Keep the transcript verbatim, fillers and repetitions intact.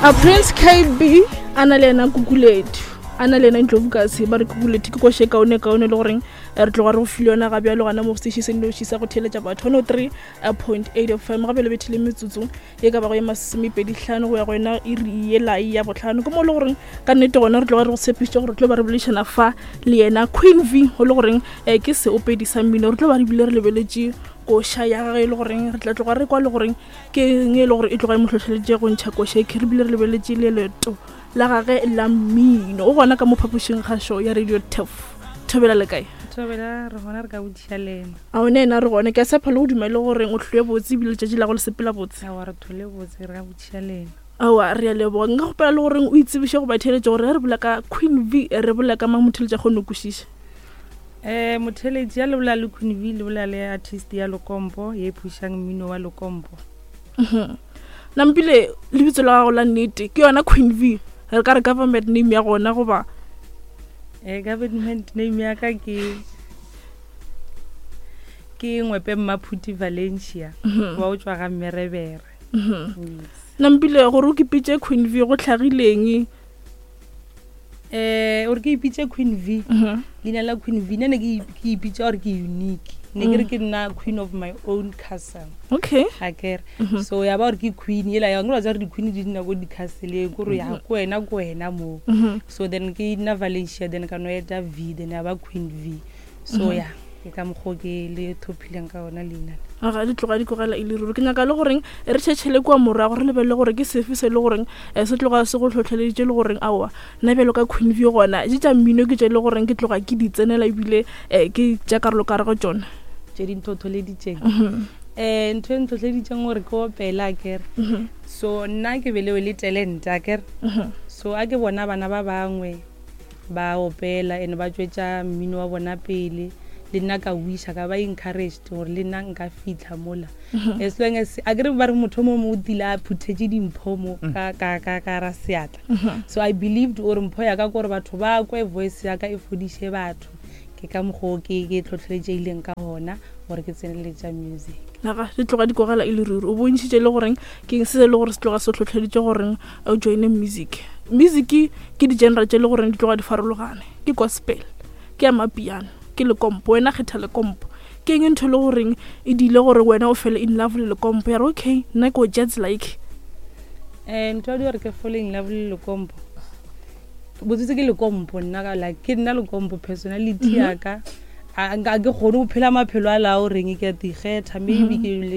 A Prince K B a na le yena Kukulethu, a na le yena Ndlovukase. Ba re Kukulethu ke koše kaone kaone le goreng eh, re tloga re go file yona ga bjalo gana mo station se noši sa go theeletša batho, one oh three point eight F M. Gape le bethile metsotso ye ka bago ye masomepedi hlano go ya go yona iri ye lai ya botlhano. Ke mo e le goreng ka nnete gona re tloga re go tshepišitše gore re tlo ba re boledišana fa le yena Queen V, go le goreng um ke seopedi sa mmino. Re tlo ba re bile re lebeletše koša ya gage e le goreng re tla tloga re kwa le goreng ke eng e le gore e tloga e mo hlohleleditše go ntšha koša e. Re bile re lebeletše le leeto la gage la mmino. O gona ka mo phapošing kgašo ya Radio Turf. Thobela, le kae? Thobela, re gona, re ka botšiša lena. A one ena re gona. Ke a tshepa le go dumele goreng o tlhoe botse ebile letšatši la go le sepela botse. Awa, re thole botse, re ka botšiša lena. Aowa, re a leboga. Nka gopela le goreng o itsebiše go batheeletša gore ge re bolela ka Queen V, re bolela ka mang, motheeletša kgone go kwešiša. um motheletši ya le bolela le Queen V, le bolela le artist ya lekompo ye phušang mmino wa lekompo. Mhm. nampile lebitso la gago la nnete ke yona Queen V, re ka re government name ya gona goba? um government name ya ka ke ke Ngwepe Mmaphuti Valencia, wa o tswa ga Mmerebere. Yes. Nampile gore o kipitše Queen V go tlhagileng? um ore ke ipitše Queen V, Mhm. leina la Queen V nne ne ke ke ipitša gore ke unique, ne ke re ke nna queen of my own castle. Okay a kere so ya ba gore ke queen ela ya nkore wa tseba gore di-queen di nna ko di-castleng, kore ya ko wena ko wena moo. Mhm. So then ke nna Valencia, then ka no eta V, then ya ba Queen V. So ya ke ka mokgwa o ke le thophileng ka ona leina le. Aga di tloga di tlogela e le ruri. Ke nyaka le goreng re tšhetšhele kua morago, re lebelele gore ke sefe se e le goreng um se tloga se go tlhotlheleditše le goreng aowa, nna bjalo ka Queen V gona je tša mmino ke tše e le goreng ke tloga ke di tsenela ebile um ke tša karolo ka re go tšona. Tše di nthotholeditšeng, um ntho e ntlhotlheleditšeng gore ke opela, akere so nna ke belewe le talent, akere so a ke bona bana ba bangwe ba opela and ba tšwetša mmino wa bona pele, le nna ka wiša ka ba encouraged gore le nna nka fitlha mola, as long as a kere ba re motho o mongwe o tile a phuthetše dimpho mo ka- ka ka- ka ra seatla. So I believed gore mpho ya ka kore batho ba kwe voice ya ka e fodiše batho. Ke ka mokgwa o ke ke tlhotlheletšeileng ka gona gore ke tseneletša music. Naga di tloga di kogela e le ruri. O bontšhitše le goreng ke eng se se le gore se tloga se tlhotlheleditše goreng o joine music. Music ke di-genre tše le goreng di tloga di farologane, ke gospel, ke ya mapiano, ke lekompo. Wena kgetha lekompo, ke eng ntho e le goreng e diile gore wena o fele in love le lekompo, ya re okay, nna ke o jazz like? um ntho ya di gore ke fall in love le lekompo botsetse ke lekompo nna ka like ke nna lekompo personality ya ka. A a ke kgone go phela maphelo a la o reng ke a tikgetha, maybe ke le